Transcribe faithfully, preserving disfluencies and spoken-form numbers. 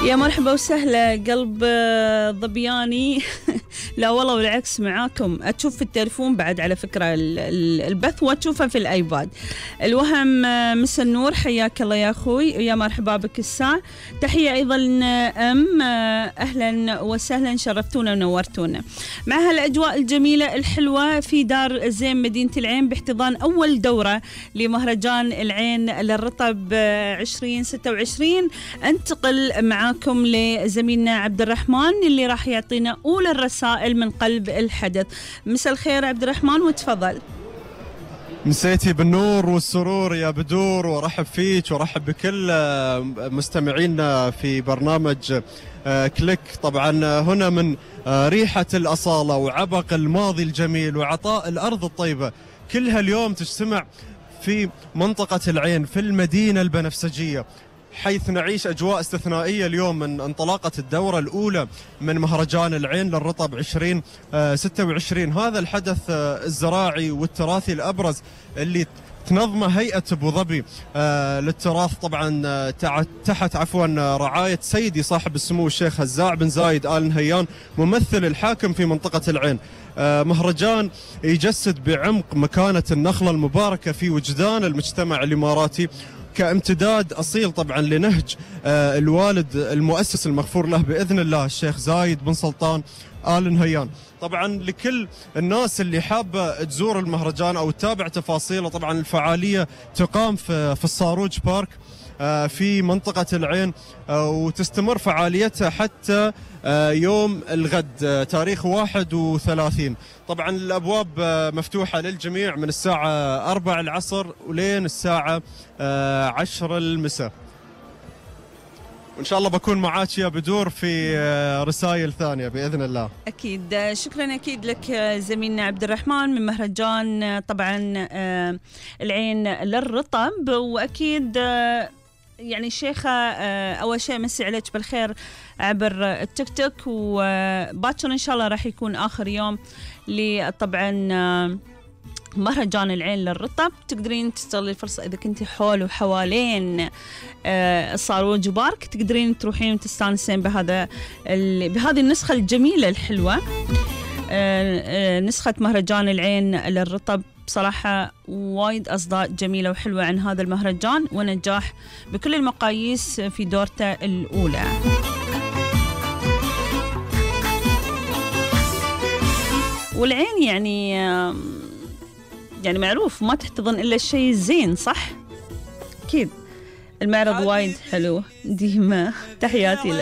يا مرحبا وسهلا قلب ضبياني. لا والله بالعكس معاكم، أتشوف في التليفون بعد على فكرة البث وأتشوفه في الآيباد. الوهم مس النور، حياك الله يا أخوي، يا مرحبا بك الساعة. تحية أيضا أم، أهلا وسهلا، شرفتونا ونورتونا مع هالأجواء الجميلة الحلوة في دار الزين مدينة العين باحتضان أول دورة لمهرجان العين للرطب عشرين ستة وعشرين. انتقل معاكم لزميلنا عبد الرحمن اللي راح يعطينا أولى الرسائل من قلب الحدث. مساء الخير عبد الرحمن وتفضل. مسيتي بالنور والسرور يا بدور، ورحب فيك ورحب بكل مستمعينا في برنامج كليك. طبعا هنا من ريحة الأصالة وعبق الماضي الجميل وعطاء الأرض الطيبة، كلها اليوم تجتمع في منطقة العين في المدينة البنفسجية، حيث نعيش أجواء استثنائية اليوم من انطلاقة الدورة الأولى من مهرجان العين للرطب عشرين ستة وعشرين. هذا الحدث الزراعي والتراثي الأبرز اللي تنظمه هيئة أبو ظبي آه للتراث، طبعا تحت عفوا رعاية سيدي صاحب السمو الشيخ هزاع بن زايد آل نهيان ممثل الحاكم في منطقة العين. آه مهرجان يجسد بعمق مكانة النخلة المباركة في وجدان المجتمع الإماراتي، كامتداد أصيل طبعا لنهج آه الوالد المؤسس المغفور له بإذن الله الشيخ زايد بن سلطان آل نهيان. طبعا لكل الناس اللي حابة تزور المهرجان أو تتابع تفاصيله، طبعا الفعالية تقام في, في الصاروج بارك آه في منطقة العين آه وتستمر فعاليتها حتى آه يوم الغد آه تاريخ واحد وثلاثين. طبعا الأبواب آه مفتوحة للجميع من الساعة أربع العصر ولين الساعة آه عشر المساء، وإن شاء الله بكون معاك يا بدور في رسائل ثانية بإذن الله. أكيد، شكرا أكيد لك زميلنا عبد الرحمن من مهرجان طبعا العين للرطب. وأكيد يعني الشيخة أول شيء مسي عليك بالخير عبر التيك توك، وباكر إن شاء الله راح يكون آخر يوم لطبعا مهرجان العين للرطب. تقدرين تستغلي الفرصة إذا كنت حول وحوالين الصاروج بارك، تقدرين تروحين وتستانسين بهذا بهذه النسخة الجميلة الحلوة، نسخة مهرجان العين للرطب. بصراحة وايد أصداء جميلة وحلوة عن هذا المهرجان، ونجاح بكل المقاييس في دورته الأولى. والعين يعني يعني معروف ما تحتضن إلا الشيء الزين، صح؟ أكيد المعرض وايد حلو ديما. تحياتي لك.